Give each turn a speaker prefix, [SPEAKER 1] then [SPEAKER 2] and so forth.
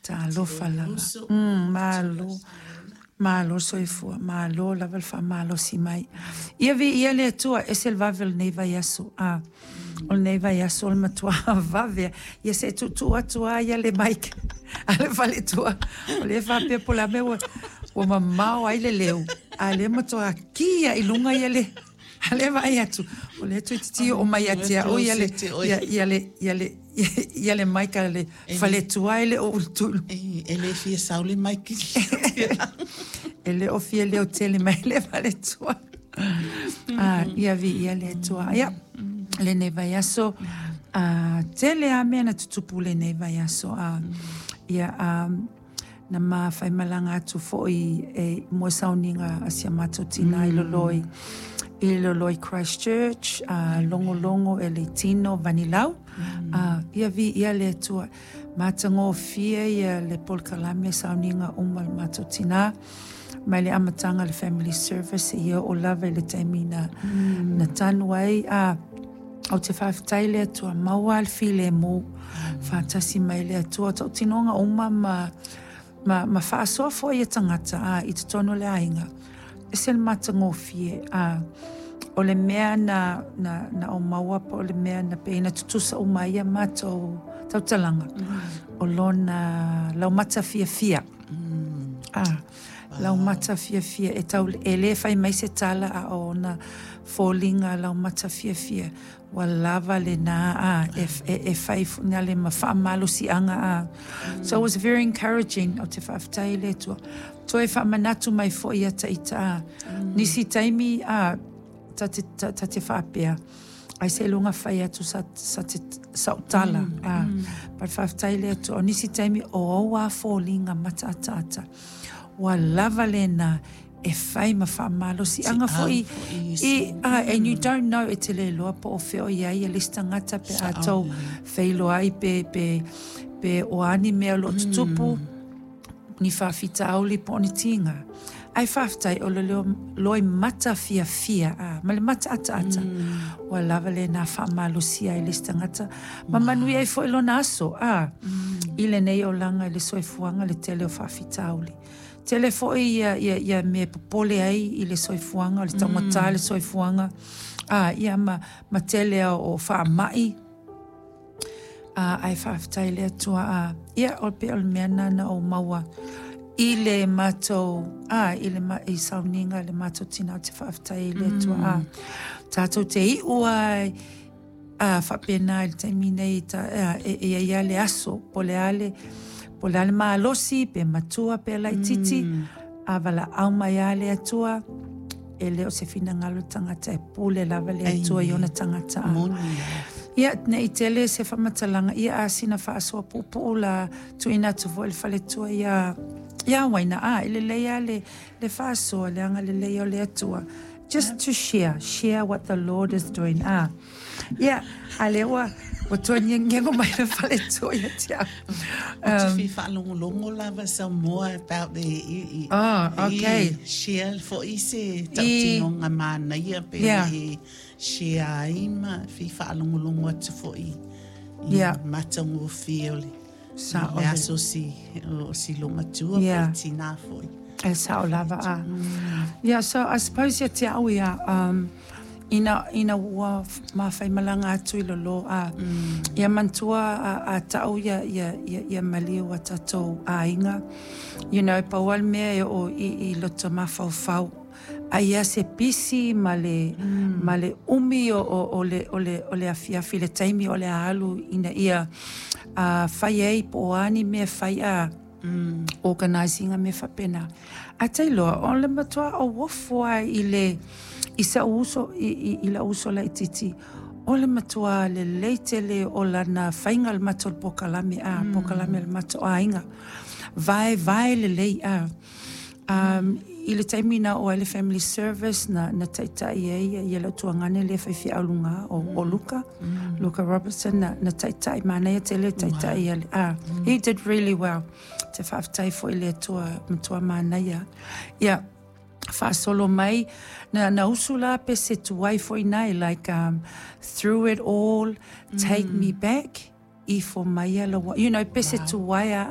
[SPEAKER 1] Talofa lava. Malo. Malo soifua, malo lava le faamalosi mai. Ia viia le Atua, ese le vave o lenei vaiaso. Ah, o lenei vaiaso o le matua vave. Ia se tuutuu atu lava ia le mic a le faletua. O lea e faapea po o le a mea ua mamao ai le leo, a o lea e matua ki lava i luga ia le a lea e vaai atu, o lea toeitiiti oo mai ia te au ia le, ia, ia le, ia le, ia le mic a le faletua e le o ulu.
[SPEAKER 2] E le fia sao le mic.
[SPEAKER 1] E le o fia leo tele mai le faletua. Ah, ia viia le Atua. Ia, lenei vaiaso, ah, tele lava mea na tutupu lenei vaiaso. Ah, ia, na ma faimalaga atu foi e mo sauniga a si a matou tina i lolo i Christchurch, logologo e le tino vanilau. Ia viia le Atua. Matagofie ia le polokalame sauniga uma le matou tina. Mai le amataga le family service ia o lava i le taimi na tanu ai a o te faafetai le Atua maua le filemu faatasi mai le Atua tautinoga uma ma faasoa foi ia tagata a i totonu o le aiga. Ese le matagofie a o le mea na o maua po o le mea na pei na tutusa uma ia matou tautalaga o lona laumata fiafia. Ah, laumata fiafia e tau e le fai mai se tala a o ona foliga laumata fiafia ua lava lena a e fai na le ma faamalosiaga a. So it was very encouraging o te faafetai i le Atua. Toe faamanatu mai foi ia taita a. Nisi taimi a ta te faapea ai se luga fai atu sa te sautala a. But faafetai i le Atua. O nisi taimi o ou a foliga mataataata ua lava lena e fai ma faamalosiaga foi i and you don't know e te le iloa po o fea o i ai le isi tagata pe a tou feiloai pe o a ni mea o lo o tutupu ni faafitauli po o ni tiga. Ae faafetai o le loi mata fiafia a, ma le mata ataata ua lava lena faamalosia ai le isi tagata ma manuia ai foi lona aso a i lenei olaga i le soifuaga le tele o faafitauli. Tele foi ia mea popole ai i le soifuaga, o le taugata le soifuaga a ia ma tele o faamai a ae faafetai le Atua a ia o pe o le mea na na ou maua i le matou a i le ma, i sauniga le matou tina o te faafetai i le Atua a tatou te iu ai a faapena i le taimi nei ta, e ia ia le aso po le ale po le ale malosi pe matua pe laititi a valaau mai a le Atua e le o se finagalo tagata e pule lava le Atua i ona tagata a.
[SPEAKER 2] Moni.
[SPEAKER 1] Ia, nei tele se faamatalaga, ia a sina faasoa puupuu la tuuina atu foi le faletua ia Waina a e lelei lava le faasoa le agalelei o le Atua. Just to share what the Lord is doing. Ah. Ia, a lea ua toe ngego mai le faletua ia te au.
[SPEAKER 2] Ou te fia faalogologo lava some more about the i,
[SPEAKER 1] Oh, okay.
[SPEAKER 2] I share foi se tautinoga manaia pe e share ai ma fia faalogologo atu foi i matagofie o le
[SPEAKER 1] Sao
[SPEAKER 2] le aso si o si lomatua po tina foi.
[SPEAKER 1] E sao lava a. Yeah, so I suppose ia te au ia, ina ua mafaimalaga atu i lolo a ia manatua a tau ia maliu a tatou aiga. Pau lava le mea e oo i loto mafaufau. Ai ia se pisi ma le umi o le afiafi le taimi o le alu ina ia fai ai po o a ni mea fai a organizing a mea faapena. Ae tailoa, o le matua auofo lava i sa'u uso i la'u uso laitiiti o le matua lelei tele o lana faiga le matou polokalame a polokalame a le matou aiga. Vaevae lelei a. I le taimi na oo ai le family service na taitai ai ia le tuagane lea faifeau luga o Luka, Luka Robertson na taitai manaia tele taitai a he did really well. Te faafetai foi i le Atua matua manaia. Ia, faasolo mai na usu la pe se tuai foi nai like "Through it all, take me back", ifo mai ia la pe se tuai a